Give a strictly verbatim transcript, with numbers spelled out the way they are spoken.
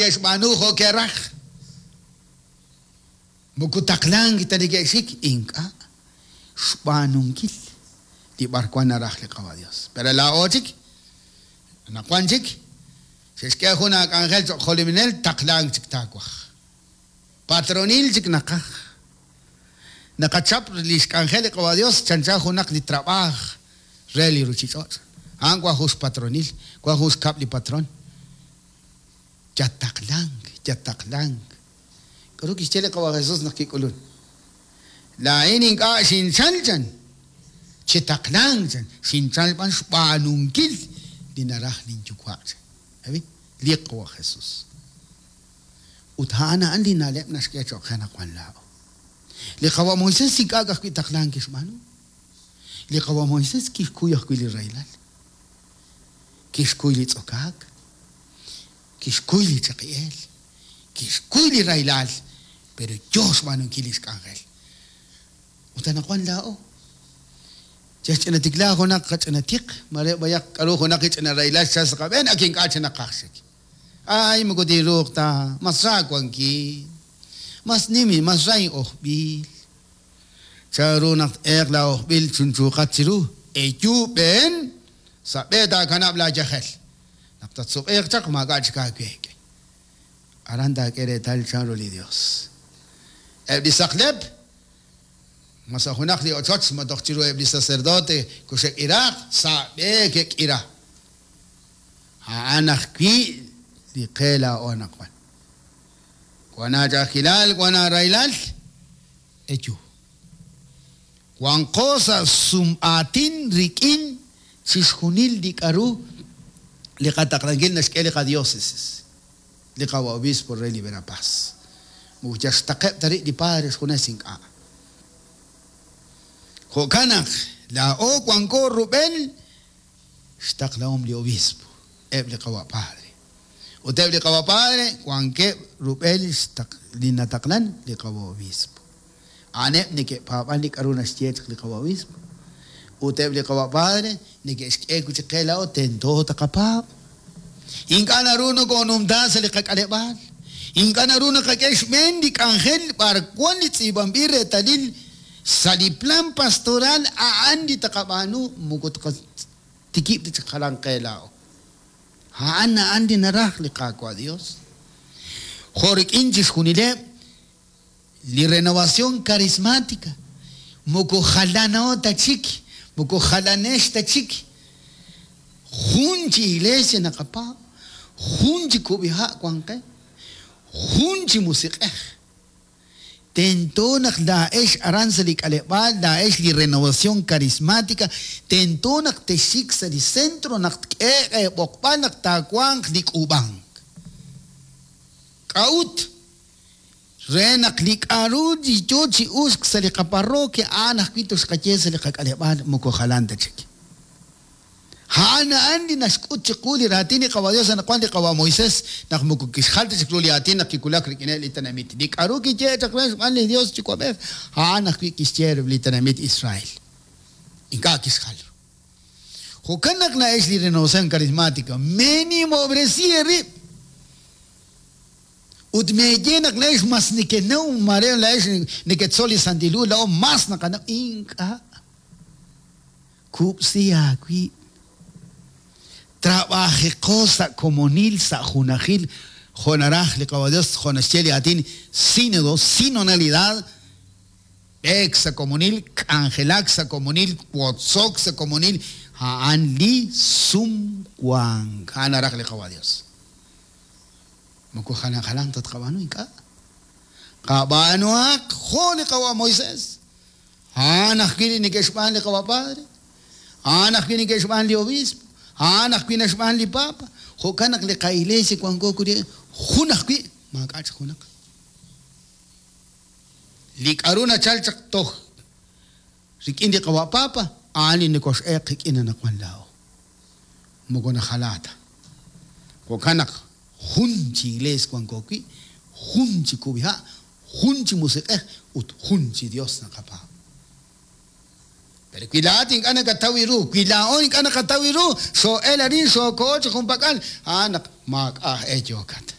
ke'xb'aanu jo' ke'raj. Moko taqlank ta neke'xik, ink'a' xb'aanunkil li b'arwan naraj li Qawa' Dios. Pero laa'o chik, anaqwan chik, xe'xk'e jun aak'anjel cho'q jolominel, taqlank chik taawaj. Patronil chik naqaj. Naqachap li xk'anjel li Qawa' Dios chancha junaq li trab'aaj re li ruuchich'och'. A'an wan jun xpatronil, wan jun xkab' li patron. Yataqlank, yataqlank. K'aru kixye li Qawa' Jesús naq kik'ulun? Laa'in ink'a' xinchal chan, chi taqlank chan, xinchal b'an xb'aanunkil li naraj linyuwa' chan. Abi, li Qawa' Jesús. Ut a'an a'an li na'leb' naxk'e cho'q qe naq wan laa'o. Li Qawa' Moisés ink'a' ka'ajwi' taqlank kixb'aanu. Li Qawa' Moisés kixkuy ajwi' li rahilal. Kixkuy li tz'okaak. Kixkuy li chaqi'eel. Kixkuy li rahilal, pero yo xb'aanunkil li xk'anjel. Ut anaqwan laa'o. Chexch'ina tikla junaq qach'ina tiq, mare b'ayaq k'aru junaq ch'ina rahilal xchal sa' qab'een, ak ink'a' chi naqaj chik. Ay, moko tinruuq ta, mas ra wankin. Mas nim, mas ra in'ojb'il. Chanru naq t'eeq la ojb'il chunchuuqat chiru, eyu b'een, sa' b'e taakanab' laayajel. Naq tatsuq'iiq chaq, maak'a' chik aaweek'. Aran taak'e reetal chanru li Dios. Eb' li saqlep, mas sa' junaq li ochoch ma toj chiru eb' li sacerdote kuxek'iraaq, sa' b'e ke'k'ira. A'an ajwi' li qe laa'o anaqwan. Wan aach'a'ajkilal, wan aarahilal, eyu. Wanqo sa' sum'aatin rik'in chixjunil li k'aru li qataqlankil naxk'e li qadiócesis, li Qawa' obispo re li Verapaz. Moko yal xtaqeb' ta rib' li padre xjunes ink'a'. Jo'kan naq laa'o wanko rub'el xtaqlahom li obispo, eb' li Qawa' padre. Ut eb' li Qawa' padre wankeb' rub'el xtaq li nataqlan li Qawa' obispo. A'aneb' neke'paab'an li k'aru naxye chaq li Qawa' obispo. Ut eb' li Qawa' padre neke'xk'e wi' chik qe laa'o tento taqapaab'. Ink'a' naru nokoonumta sa' li qak'aleb'aal. Ink'a' naru naqak'e xb'een li k'anjel b'arwan li tz'iib'anb'il reetalil sa' li plan pastoral a'an li taqab'aanu moko taqatikib' ta chik jalan qe laa'o. A'an a'an li naraj li Qaawa' Dios. Jo' rik'in chixjunileb' li renovación carismática moko jalano ta chik, moko jalanex ta chik. Jun chi iglesia naqapaab', jun chi kub'iha' wan qe, jun chi musiq'ej. Tento naq laa'ex aran sa' li k'aleb'aal, laa'ex li renovación carismática, tento naq texik sa' li centro naq tk'eeq eeb'oqb'al naq taawanq li k'uub'ank. K'a'ut? Re naq li k'aru li yo chi uxk sa' li qaparroquia a'an ajwi' toxqaye sa' li qak'aleb'aal moko jalan ta chik. A'an a'an li naxk'ut chiqu li raatin li Qawa' Dios anaqwan li Qawa' Moisés naq moko kixjal ta chik ru li aatin naq kiwulak rik'ineb' li tenamit. Li k'aru kiyehe chaq re xb'aan li Dios Yuwa'b'ej, a'an ajwi' kixye re li tenamit Israel. Ink'a' kixjal ru. Jo'kan naq na'ex li renovación carismática, menimobresi eerib'. Ut meeye naq la'ex mas nekenaw, mare la'ex neketzol li Santil Hu, laa'o mas naqanaw. Ink'a'. Kub'si aawib'. Trabajiqo sa' komonil, sa' junajil, jo' naraj li Qawa' Dios, jo' naxye li aatin sínodo, sinodalidad, b'eek sa' komonil, k'anjelak sa' komonil, wotzok sa' komonil, a'an li sumwank. A'an naraj li Qawa' Dios. Moko jalan jalan tatqab'aanu ink'a'. Qab'aanuhaq jo' li Qawa' Moisés. A'an ajwi' li neke'xb'aan li Qawa' Padre. A'an ajwi' neke'xb'aan li obispo. A'an ajwi' naxb'aan li Papa. Jo'kan naq li qa'iglesia wanko kuri jun ajwi' maak'a' chik junaq. Li k'aru nachal chaq toj rik'in li Qawa' Papa, a'an li nekox'eeq qik'in anaqwan laa'o. Moko najalaa ta. Jo'kan naq jun chi iglesia wanko wi', jun chi kub'iha', jun chi musiq'ej ut jun chi Dios naqapaab'. Pero wi laa'at ink'a' nakataw ru, wi laa'o ink'a' naqataw ru, xoo'el arin, xooko'o chi junpak'al, a'an naq maak'a' aj e yookat.